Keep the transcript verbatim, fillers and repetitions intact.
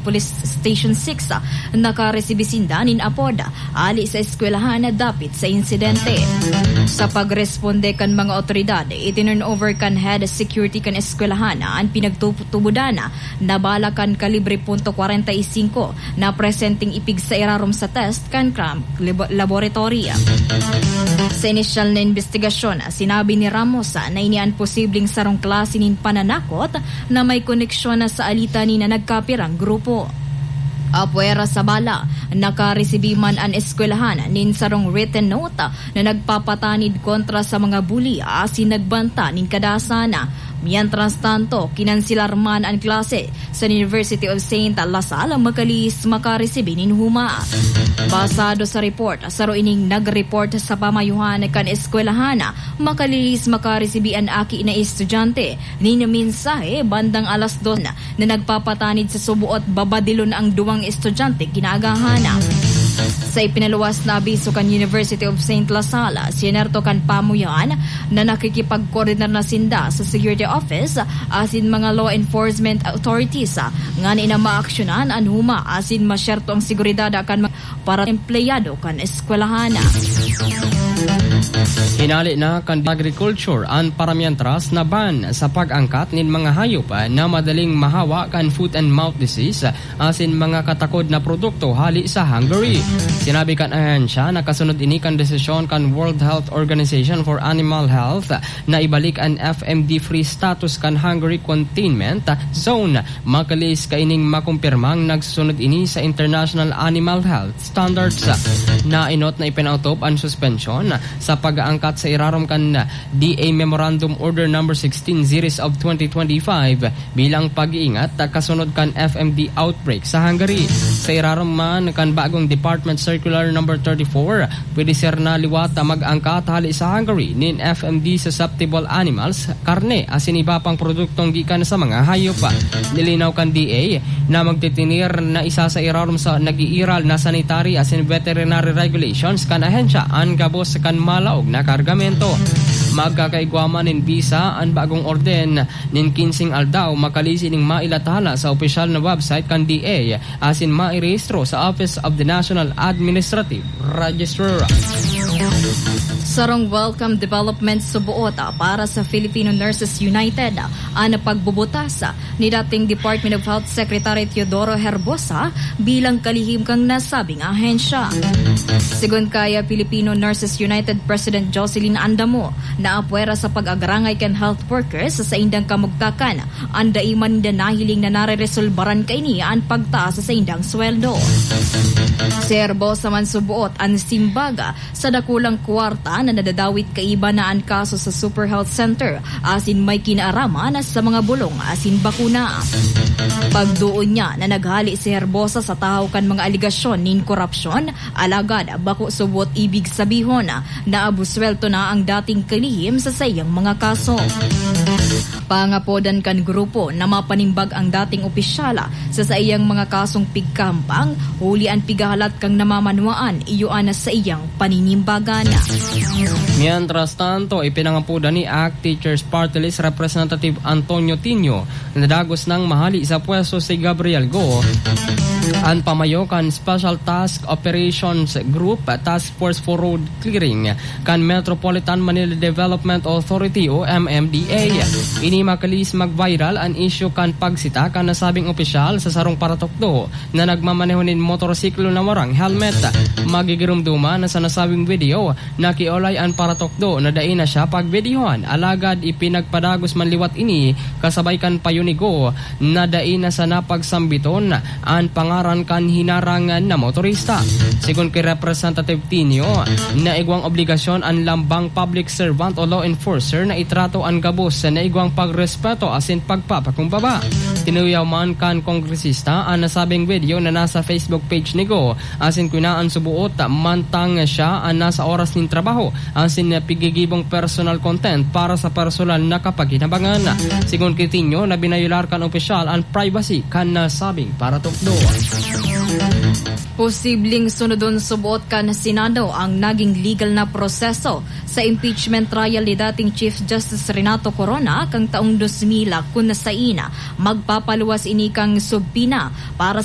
Police Station six, ah, nakaresibi sinda nin apod, ah, hali sa eskwelahan na dapit sa insidente. Sa pagresponde kan mga otoridad, itinurn over kan head security kan eskwelahan an pinagtutubodan na bala kan kalibre punto kwarenta y singko na presenteng ipigsa irarom sa test kan crime labo-, laboratory. Sa inisyal na imbestigasyon, sinabi ni Ramos na ini an posibleng sarong klase nin pananakot na may koneksyon na sa alitan ni na nagkapirang grupo. Apwera sa bala, nakaresibi man an eskwelahan nin sarong written note na nagpapatanid kontra sa mga bully asin nagbanta nin kadasan. Mientras tanto, kinanselar man an klase sa University of Saint La Salle, Macalise, makaresibi nin huma. Basado sa report, saro ining nag-report sa pamayohan kan eskwelahan. Macalise, makaresibi an aki na estudyante nin mensahe bandang alas dos na nagpapatanid sa suboot babadilon ang duwang estudyante kinaagahan. Sa ipinaluwas na abiso kan University of Saint La Salle, sinerto kan pamuyan na nakikipagkoordinar na sinda sa security office asin mga law enforcement authorities, ah, ngani na maaksyonan an huma asin masyerto ang seguridad kan mga para empleyado kan eskwelahan. Hinali na kan agriculture an paramientras na ban sa pag-angkat nin mga hayop na madaling mahawa kan foot and mouth disease asin mga katakod na produkto hali sa Hungary. Sinabi kan ahensya na kasunod ini kan desisyon kan World Health Organization for Animal Health na ibalik an F M D free status kan Hungary containment zone. Makalis kaining makumpirmang nagsusunod ini sa international animal health standards. Nainot na ipinautob an suspensyon sa pag-aangkat sa irarom kan D A Memorandum Order Number sixteen Series of twenty twenty-five bilang pag-iingat kasunod kan F M D outbreak sa Hungary. Sa irarom man kan bagong Department Circular Number thirty-four, pwede ser na liwat na mag-angkat hali sa Hungary nin F M D susceptible animals, karne, asin iba pang produktong gikan sa mga hayop. Nilinaw kan D A na magtitinir na isa sa irarom sa nag-iiral na sanitary asin veterinary regulations kan ahensya an gabos kan malaog na kargamento. Magkakaigwa man nin bisa an bagong orden nin kinseng aldaw, makalisi ning mailathala sa opisyal na website kan D A asin mairehistro sa Office of the National Administrative Registrar. Sarong welcome development suboot para sa Filipino Nurses United, an pagbubutas ni dating Department of Health Secretary Teodoro Herbosa bilang kalihim kan nasabing ahensya. Sigon kaya Filipino Nurses United President Jocelyn Andamo, naapwera sa pag-agrangay kan health workers sa saindang kamugtakan, an dai man ninda nahiling na nareresolbaran kaini an pagtaas sa saindang sweldo. Si Herbosa man suboot an simbag sa dakulang kwarta na nadadawit kaiba na an kaso sa Super Health Center asin may kinaaraman sa mga bulong asin bakuna. Pagduon niya na naghali si Herbosa sa tahaw kan mga alegasyon nin korupsyon, alagad bako subot ibig sabihon na abuswelto na ang dating kalihim sa saiyang mga kaso. Pangapodan kan grupo na mapanimbag ang dating opisyal sa saiyang mga kasong pigkahampang, huli an pigahalat kang namamanwaan iyo an saiyang paninimbagan. Mientras tanto, ipinangapodan ni ACT Teachers Party List Representative Antonio Tinio na dagos nang mahali sa pwesto si Gabriel Go, an pamayo kan Special Task Operations Group, Task Force for Road Clearing kan Metropolitan Manila Development Authority o M M D A. Ini makalis mag-viral an isyu kan pagsita kan nasabing opisyal sa sarong paratukdo na nagmamaneho nin motorsiklo na warang helmet. Magigiromdoman na sa nasabing video, nakiolay an paratukdo na dai na siya pagbidiyohan, alagad ipinagpadagos man liwat ini kasabay kan payo ni Go na dai na sana pagsambiton an pangaran kan hinarang na motorista. Sigon ki Representative Tinio, naigwang obligasyon an lambang public servant o law enforcer na itrato an gabos na igwang pagrespeto asin pagpapakumbaba. Tinuyaw man kan kongresista an nasabing video na nasa Facebook page ni Go, asin kinaan suboot mantang siya an nasa oras nin trabaho asin pigigibong personal content para sa personal na kapakinabangan. Sigon ki Tinio na binayolar kan opisyal an privacy kan nasabing paratukdo. Posibleng sunodon suboot kan Senado ang naging legal na proseso sa impeachment trial ni dating Chief Justice Renato Corona kan taong dos mil, kun sain magpapaluwas ini kan subpoena para sa